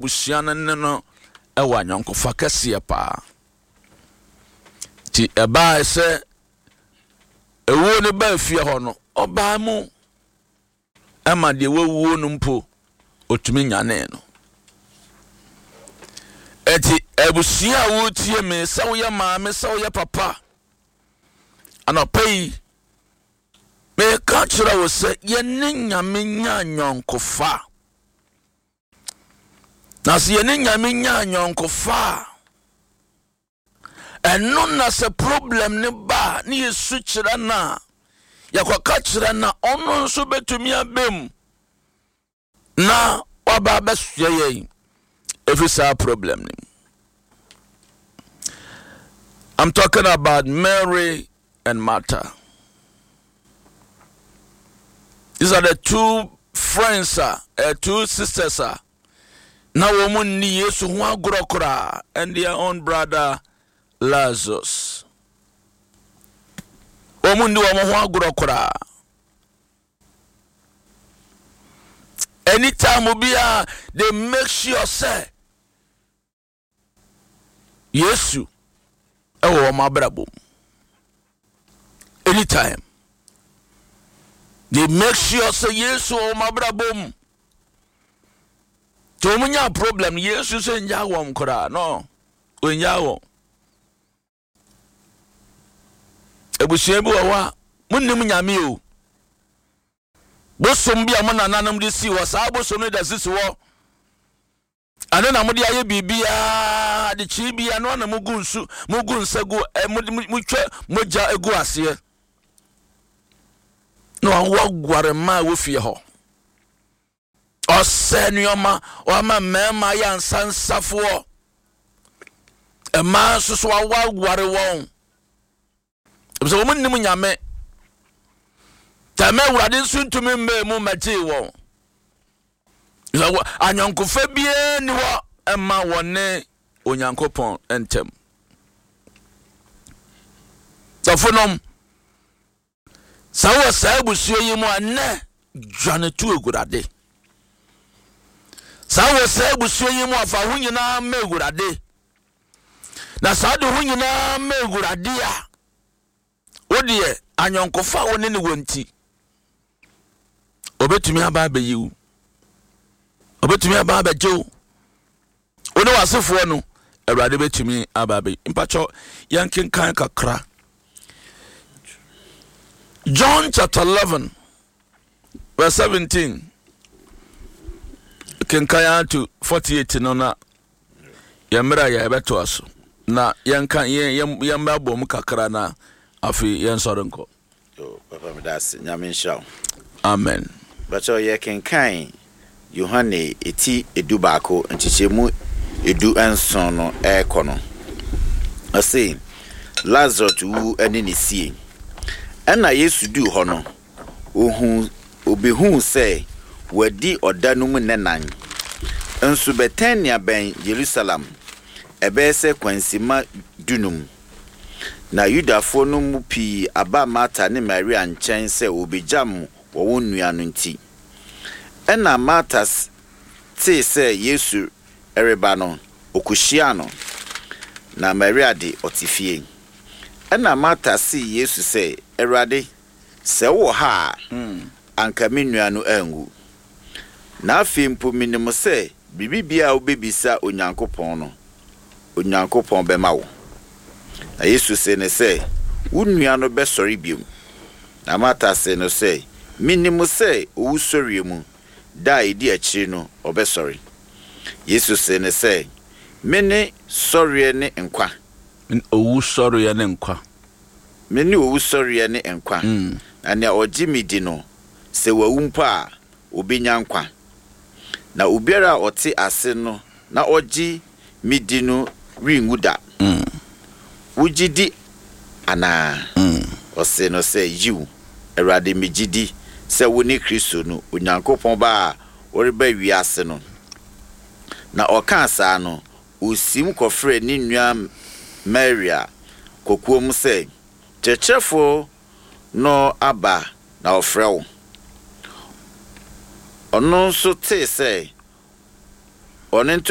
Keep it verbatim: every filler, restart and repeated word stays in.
Abusua no ne no wɔ ayɔnkofa kɛseɛ paa. Nti ɛbaa sɛ ewuo no baa fie hɔ no, ɔbaa mu ɛma deɛ wawuo no mpo otumi nyanee no. Eti abusua a wotie me, sɛ woyɛ maame, sɛ woyɛ papa, anɔpa yi meka kyerɛ wo sɛ yɛne Nyame nya anyɔnkofa. Na sɛ yɛne Nyame nya anyɔnkofa a, ɛno na sɛ problem ne ba a, ne yɛsu kyerɛ no a, yɛkɔka kyerɛ no a, ɔno nso bɛtumi abam na waba abɛsoɛ yɛn ɛfiri saa problem no mu. I'm talking about Mary and Martha. These are the two friends, uh, uh, two sisters, uh, na wɔn nni Yesu ho agorɔ koraa, and their own brother Lazarus. Wɔn nni wɔn ho agorɔ koraa. Anytime obiara, they make sure sɛ Yesu ɛwɔ wɔn abrabɔ mu. Anytime they make sure sɛ Yesu wɔ wɔn abrabɔ mu. Nti wɔn nya problem, Yesu sɛ nya wɔn koraa no, ɔnya wɔn. Abusua bi wɔ hɔ a monnim Nyame o. Bosom bi a mo nananom de sii hɔ, saa bosom no da sisi hɔ. Ɛno na mode ayɛ biribiara, adekyee bi ɛno na mugu nsu, mugu nsa gu, ɛ motwa mogya gu aseɛ. Na waguare mmaa wɔ fie hɔ. Ɔsɛ nneɛma, wama mmarima ayɛ ansansafoɔ. Mmaa nso so wawareware wɔn. Sɛ wɔn nnim Nyame. Tɛmɛ Awurade nso ntumi mmaa mu mmɛgyee wɔn. Anyɔnkofa biara ni hɔ ɛma wɔn ne Onyankopɔn ntam. Dɔfonom, sɛ wɔ saa abusua yi mu a, nnɛ dwane to Awurade. Saa wɔ saa abusua yi mu a, fa ho nyinaa ma Awurade. Na saa de ho nyinaa ma Awurade a, wo deɛ anyɔnkofa a wo ne ne wɔ nti, obetumi aba abɛyi wo, obetumi aba abɛgye wo, wo ne w'asefoɔ no, Awurade betumi aba abɛyi. Mpakyɛw, yɛnkenkan kakra. John chapter eleven verse seventeen. Kenkan to forty-eight no na yɛn mmerɛ a yɛbɛtoa so na yɛnka yɛn yɛn yɛn bɛbɔ mu kakra na afei yɛn sɔre nkɔ. Yo, Papa, meda ase. Nyame nhyira wo. Amen. Bàtchɛ yɛkenkan Yohane eti edu baako nkyekyɛmu edu nson no ɛrekɔ no. Ɔse, Lazarus wu ne ne sie. Ɛna Yesu duu hɔ no, ohu obehuu sɛ wadi ɔda no mu nnanan. Nso Betania bɛn Yerusalem, ɛbɛyɛ sɛ kwansima dunum. Na Yudafoɔ no mu pii aba Marta ne Maria nkyɛn sɛ wɔbɛgyam wɔ wɔn nua no nti. Ɛna Marta tee sɛ Yesu reba no, ɔkɔhyiaa no. Na Maria de, ɔte fie. Ɛna Marta see Yesu sɛ, Awurade, sɛ wowɔ ha a, anka me nua no anwu. Na afei mpo minim sɛ biribi biara a wobɛbisa Onyankopɔn no, Onyankopɔn bɛma wo. Na Yesu see no sɛ, Wo nua no bɛsɔre bio. Na Marta see no sɛ, Minim sɛ owusɔreɛ mu, da a ɛdi akyiri no, ɔbɛsɔre. Yesu see no sɛ, Mene sɔreɛ ne nkwa. Mene owusɔreɛ ne nkwa. Mene owusɔreɛ ne nkwa. Na nea ɔgye me di no, sɛ wawu mpo a, obenya nkwa. Na obiara a ɔte ase no na ɔgye me di no renwu da. Wogye di anaa? Ɔsee no sɛ, Yiw, Awurade, migye di sɛ wone Kristo no, Onyankopɔn Ba a ɔreba wiase no. Na ɔkaa saa no, osiim kɔfrɛɛ ne nua Maria kokoam sɛ, Kyerɛkyerɛfo no aba na ɔfrɛ wo. Ɔno nso tee sɛ Ɔno nto